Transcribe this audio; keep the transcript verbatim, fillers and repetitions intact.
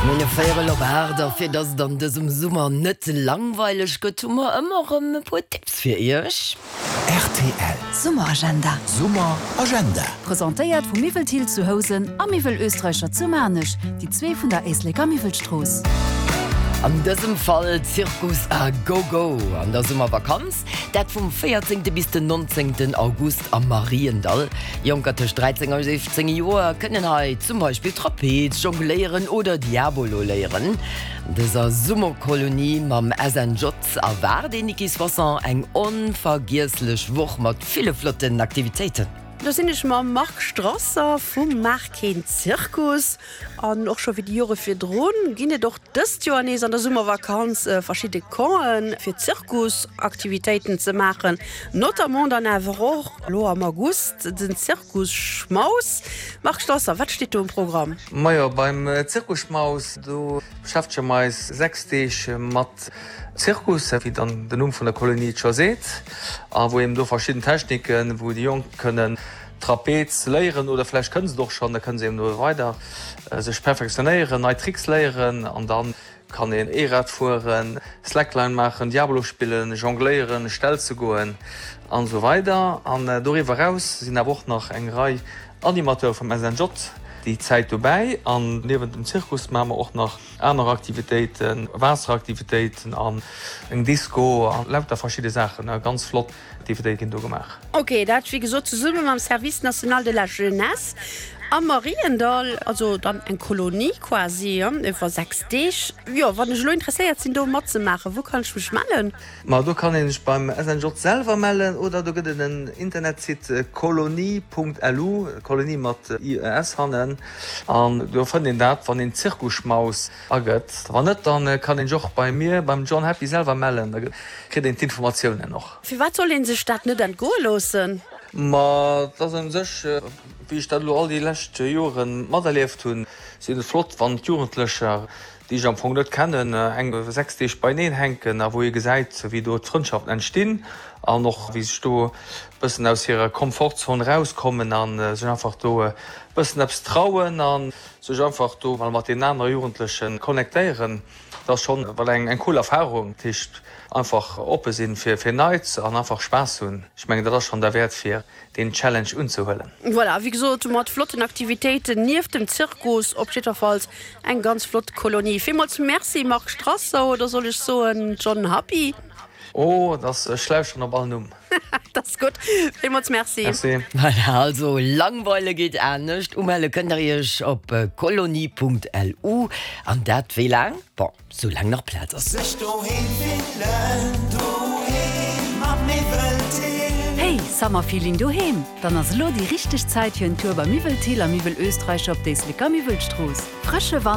Mir hu véierel op aacht a fir dass et an dësem Summer net langweileg gëtt, hu mer ëmmer erëm e puer Tipps fir iech. Rtl. Summeragenda. Summeragenda. Presentéiert vu Miwwel Thill zu Housen a Miwwel Österreicher zu Maarnech, déi zwee vun der Éisleker Miwwelstrooss. An dësem Fall Zirkus a Go-Go an der Summervakanz, dat vum véierzéngte bis den nonzéngten August am Mariendall. Jonker tëscht dräizéng a siwzéng Joer kënnen hei zum Beispill Trapez, Jongléieren oder Diabolo léieren. An dëser Summerkolonie mam S N J erwaart een Niki Soisson eng onvergiesslech Woch mat ville flotten Aktivitéiten. Do sinn ech mam Marc Strasser vum Maach keen Zirkus an och scho wéi déi Jore virdrun ginn et och dëst Joer nees an der Summervakanz verschidde Campen fir Zirkusaktivitéiten ze maachen. Notamment dann awer och lo am August den Zirkusschmaus. Marc Strasser, wat steet do um Programm? Majo, beim Zirkusschmaus do beschäftege mer eis sechs Deeg mat Zirkus, wéi dann den Numm vun der Kolonie et scho seet, a wou eben do verschidden Techniken, wou déi Jonk kënnen Trapez léieren oder vläicht kënne se et och schonn, da kënne se eben do weider sech perfektionéieren, nei Tricks léieren an dann kann een Eerad fueren, Slackline maachen, Diabolo spillen, jongléieren, Stelze goen an esou weider. An doriwwer eraus sinn awer och nach eng Rei Animateure vum S N J déi Zäit dobäi an niewent dem Zirkus maache mer och nach aner Aktivitéiten, Waasseraktivitéiten an eng Disco a lauter verschidde Saachen. Ganz flott Aktivitéite ginn do gemaach. Ok, dat wéi gesot zesumme mam Service national de la jeunesse am Mariendall, also dann eng Kolonie quasi iwwer sechs Deeg. Jo, wann ech elo interesséiert sinn do matzemaachen, wou kann ech mech mellen? Ma do kann een sech beim S N J selwer mellen oder do gëtt et en Internetsite kolonie Punkt L U, Kolonie mat I E S hannen, an do fënnt een dat wann een Zirkusschmaus agëtt. Wann net, dann kann een sech och bei mir, beim John Happy selwer mellen, da kritt een d'Informatiounen och. Firwat soll een sech dat net entgoe loossen? Ma et ass u sech, wéi ech dat elo all déi lescht Jore materlieft hunn, sinn et flott, wann d'Jugendlecher, déi sech am Fong net kennen, eng sechs Deeg beieneen hänken a wou ee gesäit, wéi do d'Frëndschaften entstinn an och wéi sech do e bëssen aus hirer Komfortzon erauskommen a sech einfach do e bëssen eppes trauen a sech einfach do mol mat deenen anere Jugendleche connectéieren. Dat ass schonn well eng eng cool Erfarung. Dat heescht einfach oppe sinn fir fir Neits an einfach Spaass hunn. Ech mengen, dat ass schonn derwäert fir deen Challenge unzehuelen. Voilà, wéi gesot, mat flotten Aktivitéiten nieft dem Zirkus, op jiddwerfalls eng ganz flott Kolonie. Villmools Merci Marc Strasser, oder soll ech soen John Happy? Oh, dat ech lauschteren op all Numm. Dat ass gutt. Villmools Merci. Merci. Voilà, also langweile geet anescht. Umelle kënnt der iech op kolonie Punkt L U an dat wéi laang? Bon, soulaang nach Plaz ass. Sech doheem fillen, doheem am Miwwel Thill. Hey, Summerfeeling doheem! Dann ass elo déi richteg Zäit fir en Tour bei Miwwel Thill a Miwwel Österreicher op d'Éisleker Miwwelstrooss. Frësche Wand